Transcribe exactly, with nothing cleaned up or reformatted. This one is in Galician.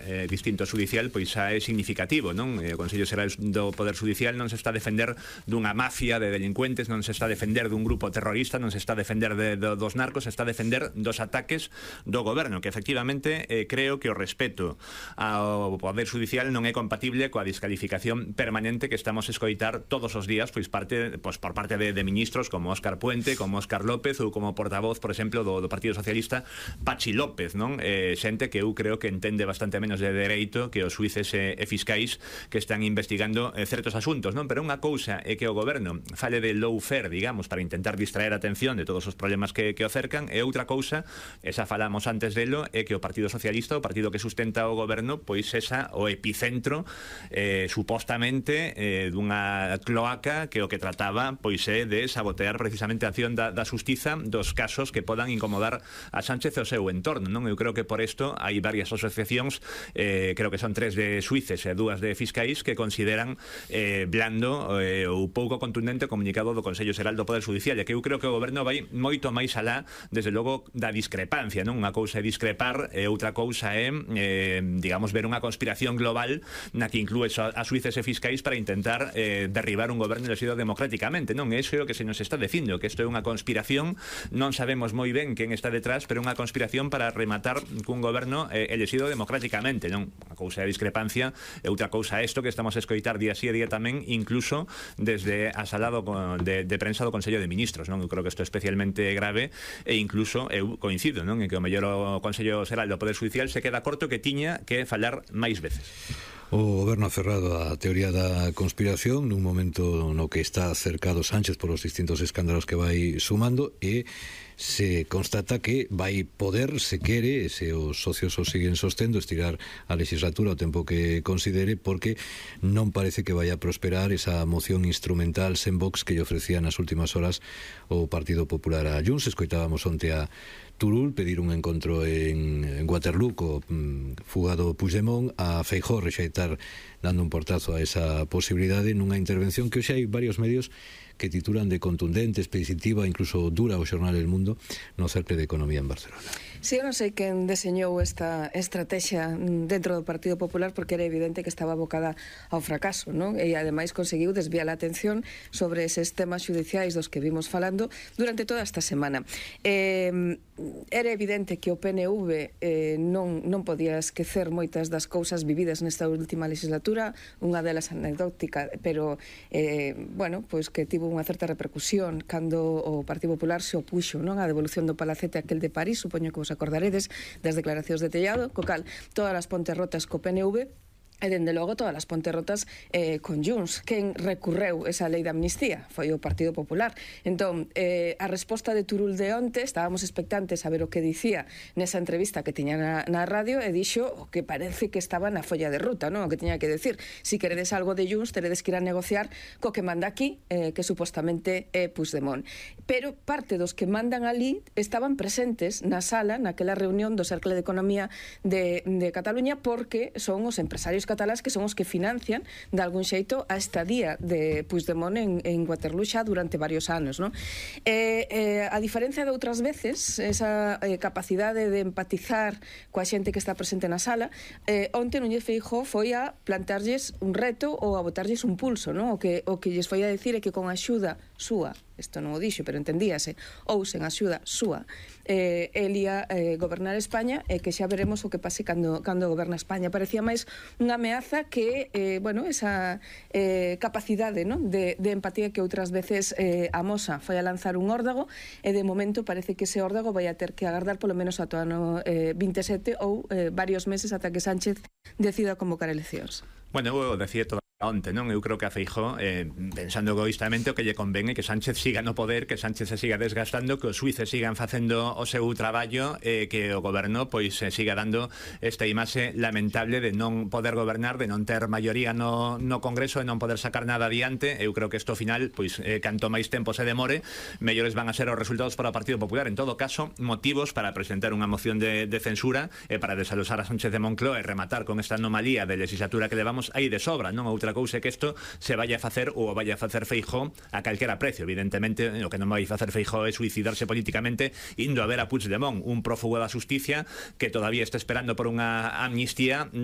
eh, distinto judicial, pois xa é significativo, non? O Consello Xeral do Poder Judicial non se está a defender dunha mafia de delincuentes, non se está a defender dun grupo terrorista, non se está a defender de, de, dos narcos, se está a defender dos ataques do goberno, que efectivamente eh, creo que o respeto ao Poder Judicial non é compatible coa descalificación permanente que estamos a escoitar todos os días, pois parte, pois por parte de, de ministros como Óscar Puente, como Óscar López ou como portavoz, por exemplo, do, do Partido Socialista, Pachi López, non? Eh, xente que eu creo que entende bastante menos de dereito que os xuíces e, e fiscais que están investigando eh, certos asuntos, non? Pero unha cousa é que o goberno fale de lawfare, digamos, para intentar distraer a atención de todos os problemas que, que o cercan, e outra cousa, esa falamos antes delo, é que o Partido Socialista, o partido que sustenta o goberno, pois esa o epicentro eh, supostamente eh, dunha cloaca que o que trataba pois é de sabotear precisamente a acción da, da xustiza dos casos que podan incomodar a Sánchez e o seu entorno, non? Eu creo que por isto hai varias asociacións, eh, creo que son tres de suíces e dúas de fiscais, que consideran eh, blando eh, ou pouco contundente o comunicado do Consello Xeral do Poder Judicial, e que eu creo que o goberno vai moito máis alá, desde logo, da discrepancia, non? Unha cousa é discrepar e outra cousa é, eh, digamos, ver unha conspiración global na que inclúe a suíces e fiscais para intentar eh, derribar un goberno elexido democráticamente, non? Iso é o que se nos está dicindo, que isto é unha conspiración, non sabemos moi ben quen está detrás, pero unha conspiración para rematar cun goberno eh, elexido democráticamente, non? Unha cousa é a discrepancia e outra cousa é isto que estamos a escoitar día sí e día tamén, incluso desde a sala do, de, de prensa do Consello de Ministros, non? Eu creo que isto é especialmente grave, e incluso eu coincido, non? En que o mellor o Consello Xeral do Poder Judicial se queda corto, que tiña que falar máis veces. O goberno aferrado á teoría da conspiración nun momento no que está cercado Sánchez por os distintos escándalos que vai sumando, e se constata que vai poder, se quere, se os socios o siguen sostendo, estirar a legislatura o tempo que considere, porque non parece que vai a prosperar esa moción instrumental sen Vox que lle ofrecía nas últimas horas o Partido Popular a Junts. Escoitábamos onte a Turul pedir un encontro en, en Waterloo co mm, fugado Puigdemont, a Feijóo rexeitar dando un portazo a esa posibilidade nunha intervención que hoxe hai varios medios que titulan de contundente, expeditiva, incluso dura o xornal El Mundo no Cercle de Economía en Barcelona. Si, sí, eu non sei quen deseñou esta estrategia dentro do Partido Popular, porque era evidente que estaba abocada ao fracaso, non? E ademais conseguiu desviar a atención sobre eses temas xudiciais dos que vimos falando durante toda esta semana. Eh, era evidente que o P N V eh, non, non podía esquecer moitas das cousas vividas nesta última legislatura, unha delas anecdótica, pero eh, bueno, pois que tivo unha certa repercusión cando o Partido Popular se opuxo, non, á devolución do palacete aquel de París, supoño que vos acordaredes das declaracións de Tellado, co cal todas as pontes rotas co P N V, e dende logo todas as pontes rotas eh, con Junts. Quen recurreu esa lei de amnistía foi o Partido Popular. Entón, eh, a resposta de Turul de onte, estábamos expectantes a ver o que dicía nesa entrevista que tiña na, na radio, e dixo o que parece que estaba na folla de ruta, non? O que tiña que decir: si queredes algo de Junts, teredes que ir a negociar co que manda aquí, eh, que supostamente é Puigdemont. Pero parte dos que mandan ali estaban presentes na sala, naquela reunión do Cercle de Economía de, de Cataluña, porque son os empresarios catalás que son os que financian de algún xeito a estadía de Puigdemont en, en Waterloo xa durante varios anos, non? Eh, eh, a diferencia de outras veces, esa eh, capacidade de empatizar coa xente que está presente na sala, eh, onte Núñez Feijóo foi a plantearlles un reto ou a botarlles un pulso, non? O que, o que lles foi a decir é que con a axuda súa, isto non o dixo, pero entendíase, ou sen axuda súa, eh, el ia eh, gobernar España, e que xa veremos o que pase cando, cando goberna España. Parecía máis unha ameaza que, eh, bueno, esa eh, capacidade, non, de, de empatía que outras veces eh, amosa. Foi a lanzar un órdago, e de momento parece que ese órdago vai a ter que agardar polo menos ata o ano eh, vinte e sete ou eh, varios meses ata que Sánchez decida convocar eleccións. Bueno, eu decía todo onte, non? Eu creo que a Feijóo, eh, pensando egoístamente, o que lle convén é que Sánchez siga no poder, que Sánchez se siga desgastando, que os suíces sigan facendo o seu traballo, e eh, que o goberno pois se siga dando esta imaxe lamentable de non poder gobernar, de non ter maioría no, no Congreso, e non poder sacar nada adiante. Eu creo que isto ao final, pois eh, canto máis tempo se demore, mellores van a ser os resultados para o Partido Popular. En todo caso, motivos para presentar unha moción de, de censura e para desalosar a Sánchez de Moncloa e rematar con esta anomalía de legislatura que levamos hai de sobra, non? Outra cousa é que isto se vaya a facer ou vaya a facer Feijóo a calquera precio. Evidentemente, o que non vai facer Feijóo é suicidarse políticamente indo a ver a Puigdemont, un prófugo da xusticia que todavía está esperando por unha amnistía na